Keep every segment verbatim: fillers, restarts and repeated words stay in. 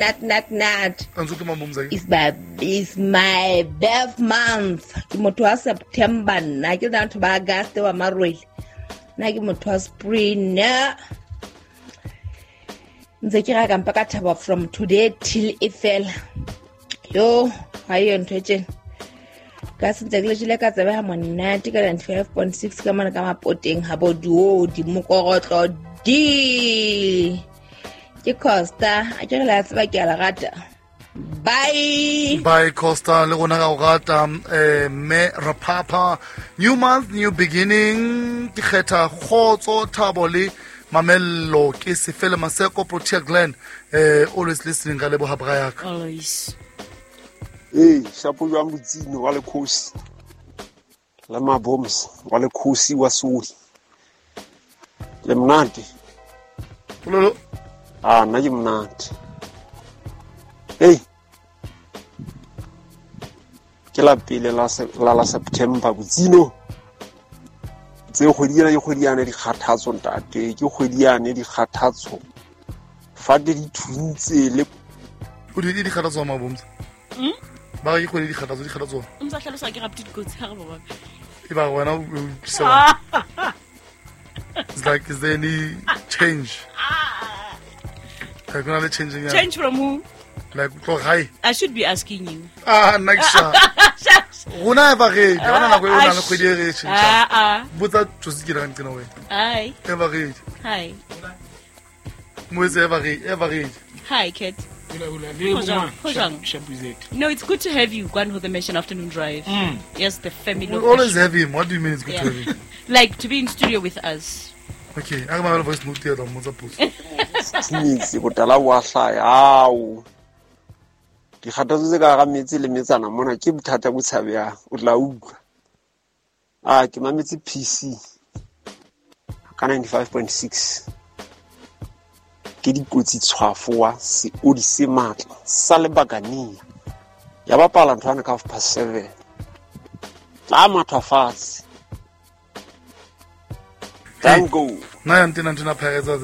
Nat nat nat. Antse ke mamomza. Is my is my birth month. Ke motho wa September nna ke batho ba August wa Marwele. Nna ke motho wa spring. Ntse ke ra ka mpa ka thaba from today till e fela. Yo, ha yo ntho e tjena. Ka sentse ke le jele ka tsebe ha monate ka ninety-five point six ka mona ka mapoteng ha bo duo di mokorotlo di. Ke Costa, a ke re la tseba ke a la rata. Bye. Bye Costa, le rona ra o rata eh me Rapapa. New month, new beginning. Ke kgetha kgotso, thabo le mamello. Ke Sefele Maseko, Protea Glen. Eh always listening ka leboha Brayaka. Always. Hey, shapo jwang botsino wa lekhosi la maboms wa lekhosi wa soli le monate. Pololo. Ah, nna ke monate. Hey, ke la pele la la la September botsino. Tse kgwedi ena ke kgwedi yane dikgathatso ntate, ke kgwedi yane dikgathatso. Fate di thuntse le o di dikgathatso maboms. Mm? Ba ke kgwedi dikgathatso dikgathatso. O ntsa hlalosa ke rapti dikotsi ha re baba. E ba wena o utlwisa. It's like, is there any change? Like, gonna changing. Yeah. Change from who? Like, hi. I should be asking you. Ah, next. Rona eva re, rona nako e rona le kgwedi e re tjhentjha. Ah ah. Botsa Josi ke rang tsena wena. Hi. Eva re. Hi. Moetse eva re, eva re. Hi, Kat. No, it's good to have you, Gwan the Mission Afternoon Drive. Mm. Yes, the family. We always have him. What do you mean it's good yeah. to have him? Like to be in studio with us. Okay, I have a voice note here. Metsi botala wa hlaya ao. Dikgathatso tse ka ga metsi le metsana mona ke bothata bo tshabehang, o tla utlwa. Ah, ke mametse P C ka ninety-five point six. Ke dikotsi tshwafo wa seodi se matla sa lebakania. Ya bapala nthwana ka half past seven. Tla matha fatshe. Tango. Na ya ntena ntena Pirates.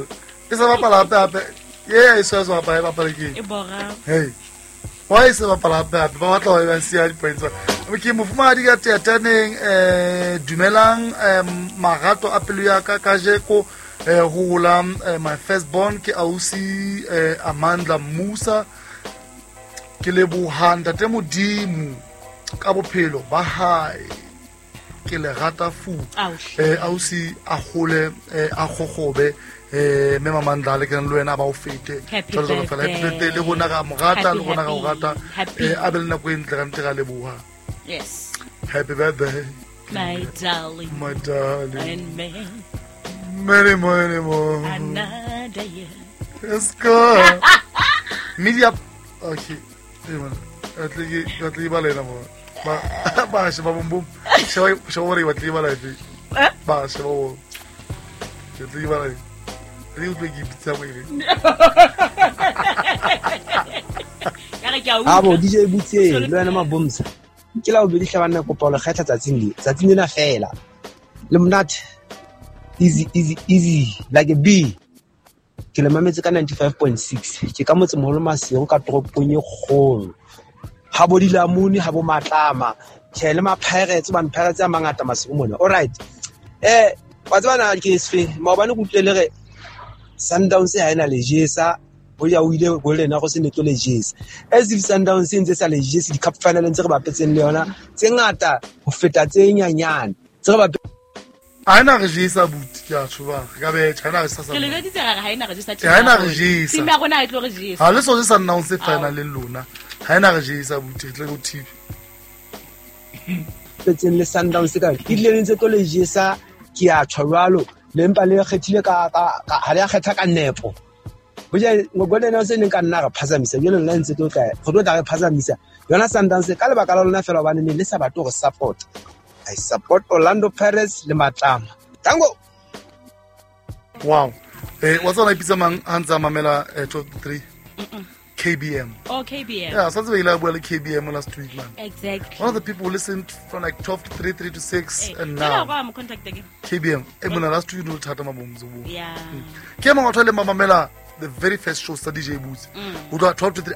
E sa bapala hape hape. Yeah, e sa sa bapala bapala ke. E bora. Hey. Why se bapala hape hape? Ba batla ho ba siya di-points. Ke mofumahadi ka teataneng eh dumelang eh marato a pelo ya ka kajeko eh hola my first born ke ausi eh Amandla Musa. Ke leboha ntate Modimo ka bophelo ba hae. Ke le rata fu eh ausi a hole a gogobe eh me Mamandla le ke le wena ba o fete jalo jalo fela happy birthday le rona ga morata le rona ga o rata eh a be le nako e ntle ka ntle ga leboha. Yes, happy birthday my darling, my darling, and me many many more another year. Let's go. Media okay eh man atle ke atle ba lena mo ba ba se ba bum bum se ba se ba re ba tle ba la efe ba se ba o ke tle ba la re utlwe ke pitsa mo ere ka re ke a utlwa. Abo D J Butse le wena mabomsa ke la o bedi hlabana kopa le kgetha tsatsing le tsatsing lena fela le monate easy easy easy like a bee. Ke le mametse ka ninety-five point six ke ka motse moholo Maseru ka toropong e kgolo ha bo dilamuni ha bo matlama tjhe le ma Pirates ba Pirates a mangata Maseru mona. All right, eh wa tseba na ke sefe maobane ke utlwile le re Sundowns ha ena le jesa ho ya o ile Golden Arrows ne tlo le jesa as if Sundowns ntse sa le jesa di cup final ntse re bapetseng le yona tse ngata ho feta tse nyanyane tse re bapetseng ha ena re jesa buti ke a tshoba re ka be China re sa sa ke le beditse re ha ena re jesa ha ena re jesa team ya rona e tlo re jesa ha le so se Sundowns final le lona ha ena re jesa buti re tle go T V petseng le Sundowns ka e ile ntse tlo le jesa ke a tshwa jwalo le mpa le kgethile ka ka ha le a kgetha ka nepo boja Golden Arrows ne ka nna re phazamisa jalo nna ntse tlo tla re tlo tla re phazamisa yona Sundowns ka lebaka la lona fela hobane ne le sa batle go support. I support Orlando Pirates le Matlama. Tango. Wow. Eh wa tsona ipitsa mang ha ntsa mamela top three? K B M. Oh, K B M. Yeah, so we like well K B M last week, man. Exactly. One of the people who listened from like twelve to three, three to six, hey, and now. I'm contact again. K B M. Eh, mona last week no thata mabomzo. Yeah. Ke mang o thole mamela the very first shows tsa D J Boots. Ho tloha twelve to three.